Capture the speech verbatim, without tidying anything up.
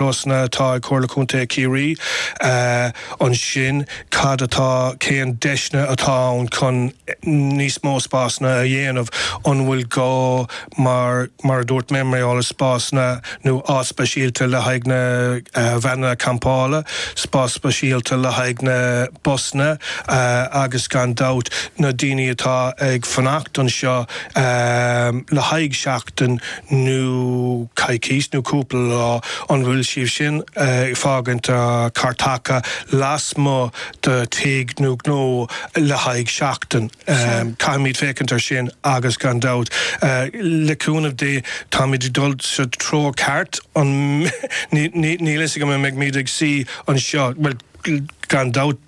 Nósanna atá ag Comhairle Contae Chiarraí ansin cad atá cén deiseanna atá ann chun níos mó spásanna a dhéanamh an bhfuil gá mar mar a dúirt mé mar gheall ar spásanna nó áit speisialta le haghaidh na veaineanna campála, spás speisialta le haghaidh na busanna agus gan dabht na daoine atá ag fanacht anseo le haghaidh seachtain nó coicís nó cúpla lá an bhfuil siad sin ag fágaint cairteacha lasmuigh de tigh nó gnó le haghaidh seachtain. Caithfimid féachaint ar sin agus gan dabht le cúnamh Dé táimid ag dul sa treo ceart an níl fhios agam an mbeimid ag suí anseo well gan dabht